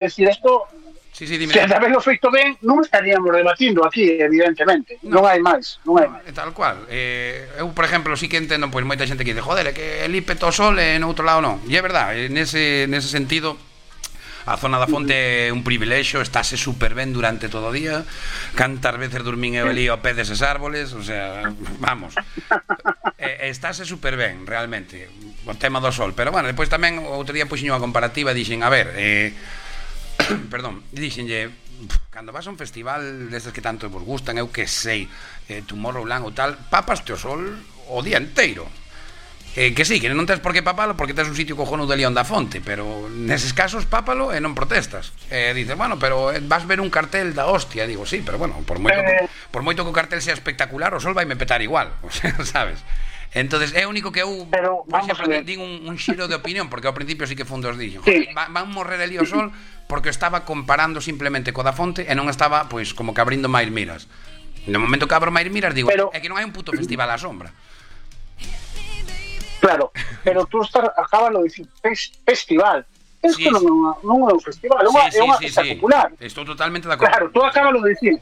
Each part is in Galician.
decir, isto, Sí, sí, dime. se de haberlo feito ben, non estaríamos debatindo aquí, evidentemente. Non hai máis, non hai No, máis. tal cual. Eu, por exemplo, sí que entendo pois moita xente que dice, joder, é que el IPE to sol e no outro lado non. E é verdad, nese sentido a zona da fonte é un privilexio, estáse super ben durante todo o día. Cantas veces dormín eu ali ao pé deses árboles, o sea, vamos. Estáse super ben, realmente, o tema do sol. Pero bueno, depois tamén outro día puxen unha comparativa e dixen, a ver, perdón, dixenlle, cando vas a un festival destes que tanto vos gustan, eu que sei, Tomorrowland ou tal, papaste o sol o día inteiro. Que sí, que non tens por que papalo porque tens un sitio cojonudo de León da Fonte, pero neses casos pápalo e non protestas. Dices, bueno, pero vas ver un cartel da hostia. Digo, sí, pero bueno, por moito que o cartel sea espectacular, o sol vai me petar igual, o sea, sabes? Entonces é único que eu, por exemplo, din un xiro de opinión, porque ao principio sí que fun dos dixo, sí. Van morrer ali o sol porque estaba comparando simplemente co da Fonte e non estaba, pois, como que abrindo máis miras. No momento que abro máis miras, digo, é que non hai un puto festival á sombra. Claro, pero tú acabas de dicir festival. Isto non é un festival, é unha festa popular. Estou totalmente de acordo. Claro, tú acabas de dicir.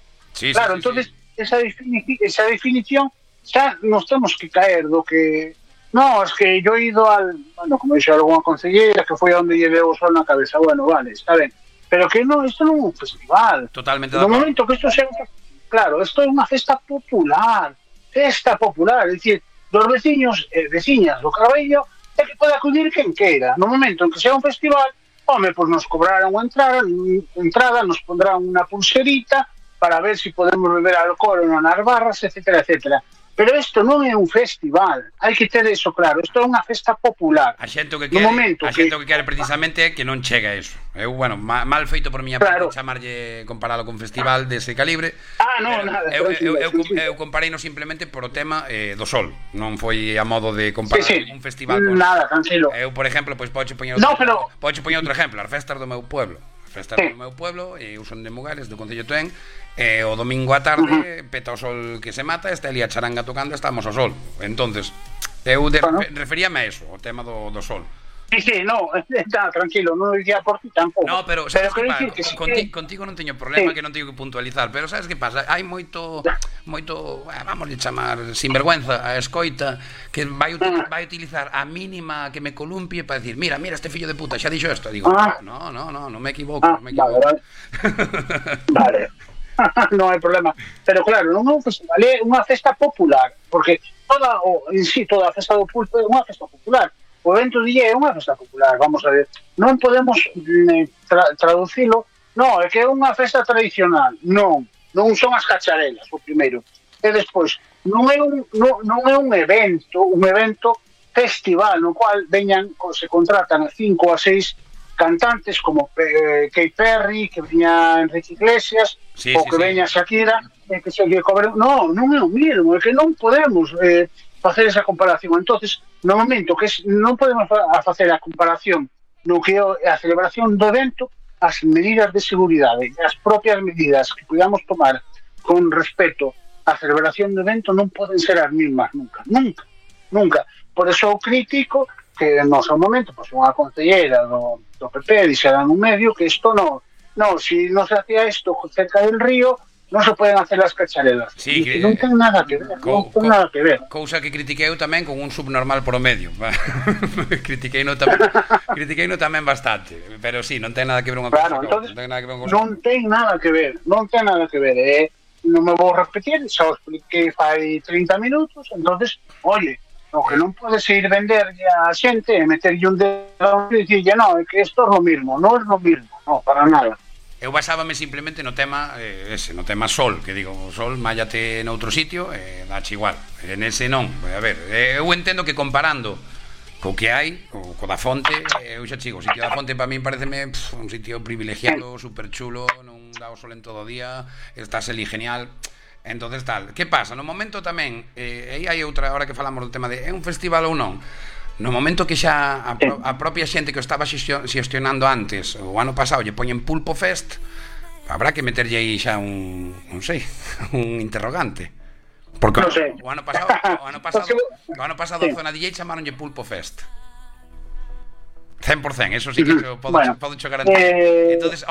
Claro, entonces esa definición xa nos temos que caer do que... No, es que yo he ido al... Bueno, como dixe algunha consellera que foi onde lle veo o sol na cabeza. Bueno, vale, está ben. Pero que non, isto non é un festival. Totalmente de acordo. No momento que isto sea... Claro, isto é unha festa popular. Festa popular, é dicir, dos veciños e veciñas do Carballo é que pode acudir quen queira. No momento en que sea un festival, home, pois nos cobrarán unha entrada, nos pondrán unha pulserita para ver se podemos beber alcohol ou non nas barras, etcétera, etcétera. Pero isto non é un festival, hai que ter eso claro, isto é unha festa popular. A xente o que quere precisamente é que non chegue a eso. Eu, bueno, mal feito por miña parte chamarlle, comparalo con festival dese calibre. Non, nada. Eu compareino simplemente por o tema do sol. Non foi a modo de comparar un festival con... Nada, tranquilo. Eu, por exemplo, pois podo poñer outro exemplo, as festas do meu pueblo. Festas do meu pueblo, eu son de Mugares, do Concello de Toén, e o domingo á tarde peta o sol que se mata, está ali a charanga tocando, estamos ao sol. Entonces, eu referíame a eso, o tema do sol. Sí, no, está tranquilo, non dicía por ti tampouco. No, pero sabes que pasa? Contigo non teño problema, que non teño que puntualizar, pero sabes que pasa? Hai moito, vamos a chamar sinvergüenza a escoita que vai utilizar a mínima que me columpie para decir, mira, este fillo de puta xa dixo isto. Digo, non me equivoco, Vale. Non hai problema. Pero claro, non é un festival, é unha festa popular, porque toda a festa do pulpo é unha festa popular. O evento de é unha festa popular, vamos a ver. Non podemos traducilo, non, é que é unha festa tradicional. Non son as cacharelas, o primeiro. E despois, non é un evento festival, no cual se contratan a 5 ou a 6 cantantes como Katy Perry, que veña Enrique Iglesias, ou que veña Shakira, que se lle cobre... Non é o mismo, é que non podemos facer esa comparación. Entonces, no momento que non podemos facer a comparación no que é a celebración do evento, as medidas de seguridade e as propias medidas que podamos tomar con respecto á celebración do evento non poden ser as mismas nunca. Por eso eu critico que no seu momento, pois unha concelleira do PP dixera nun medio que isto non, si non se hacía isto cerca del río, non se poden hacer as cacharelas. Sí, non ten nada que ver. Cousa que critiquei eu tamén con un subnormal por o medio. Critiquei no tamén bastante, pero sí, non ten nada que ver unha cousa. Non ten nada que ver. Non me vou repetir, xa o expliquei fai 30 minutos, entonces, oye, o que non podes ir venderlle a xente e meterlle un dedo e dicirlle, non, é que isto é lo mismo, non é lo mismo, non, para nada. Eu basábame simplemente no tema no tema sol, que digo, o sol mállate noutro sitio e dache igual. En ese non, a ver, eu entendo que comparando co que hai, co da Fonte, eu xa chigo, o sitio da Fonte para min pareceme un sitio privilegiado, super chulo, non dá o sol en todo o día, estás ali genial. Entonces tal, que pasa? No momento tamén, aí hai outra hora que falamos do tema de é un festival ou non. No momento que xa a propia xente que o estaba xestionando antes, o ano pasado, lle poñen Pulpo Fest, habrá que meterlle aí xa un interrogante. Porque o ano pasado a zona DJ chamaronlle Pulpo Fest. 100%, eso sí que podo Bueno, garantir. Entonces,